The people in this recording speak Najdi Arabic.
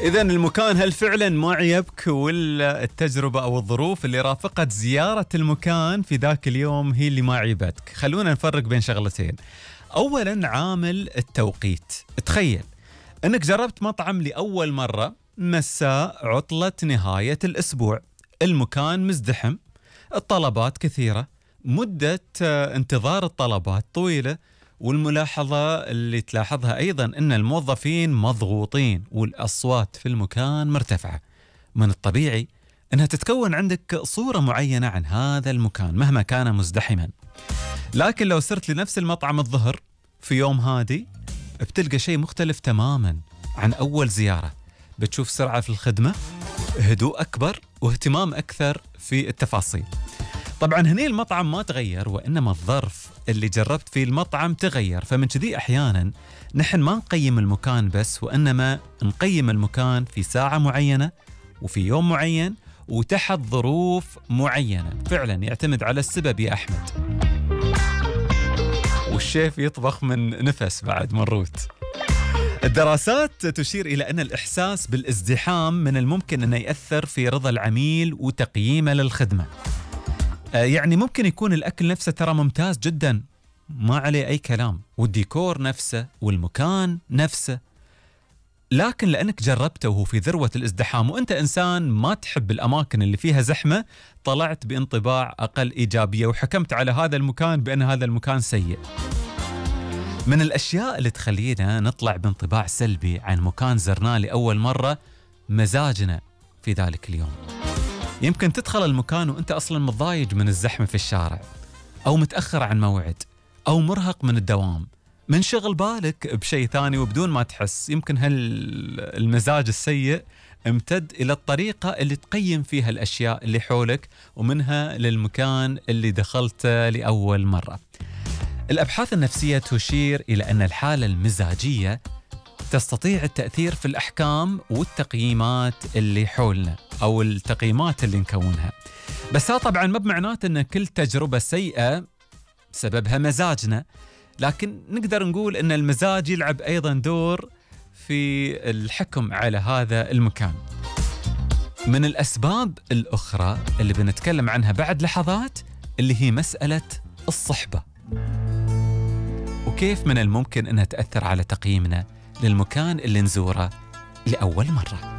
إذا المكان هل فعلا ما عيبك ولا التجربة أو الظروف اللي رافقت زيارة المكان في ذاك اليوم هي اللي ما عيبتك؟ خلونا نفرق بين شغلتين. أولا عامل التوقيت. تخيل أنك جربت مطعم لأول مرة مساء عطلة نهاية الأسبوع، المكان مزدحم، الطلبات كثيرة، مدة انتظار الطلبات طويلة، والملاحظة اللي تلاحظها أيضا أن الموظفين مضغوطين والأصوات في المكان مرتفعة. من الطبيعي أنها تتكون عندك صورة معينة عن هذا المكان مهما كان مزدحما. لكن لو صرت لنفس المطعم الظهر في يوم هادي بتلقى شيء مختلف تماما عن أول زيارة. بتشوف سرعة في الخدمة، هدوء أكبر، واهتمام أكثر في التفاصيل. طبعا هني المطعم ما تغير، وإنما الظرف اللي جربت فيه المطعم تغير. فمن كذي أحيانا نحن ما نقيم المكان بس، وإنما نقيم المكان في ساعة معينة وفي يوم معين وتحت ظروف معينة. فعلا يعتمد على السبب يا أحمد. والشيف يطبخ من نفس بعد مروت. الدراسات تشير إلى أن الإحساس بالازدحام من الممكن أنه يأثر في رضا العميل وتقييمه للخدمة. يعني ممكن يكون الأكل نفسه ترى ممتاز جدا ما عليه أي كلام، والديكور نفسه والمكان نفسه، لكن لأنك جربته وهو في ذروة الازدحام وأنت إنسان ما تحب الأماكن اللي فيها زحمة، طلعت بانطباع أقل إيجابية وحكمت على هذا المكان بأن هذا المكان سيء. من الأشياء اللي تخلينا نطلع بانطباع سلبي عن مكان زرناه لأول مرة مزاجنا في ذلك اليوم. يمكن تدخل المكان وأنت أصلا متضايج من الزحمة في الشارع، أو متأخر عن موعد، أو مرهق من الدوام، من شغل بالك بشيء ثاني وبدون ما تحس. يمكن المزاج السيء امتد إلى الطريقة اللي تقيم فيها الأشياء اللي حولك ومنها للمكان اللي دخلته لأول مرة. الأبحاث النفسية تشير إلى أن الحالة المزاجية تستطيع التأثير في الأحكام والتقييمات اللي حولنا أو التقييمات اللي نكونها. بس ها طبعا ما بمعناته أن كل تجربة سيئة سببها مزاجنا، لكن نقدر نقول أن المزاج يلعب أيضا دور في الحكم على هذا المكان. من الأسباب الأخرى اللي بنتكلم عنها بعد لحظات اللي هي مسألة الصحبة، وكيف من الممكن أنها تأثر على تقييمنا للمكان اللي نزوره لأول مرة.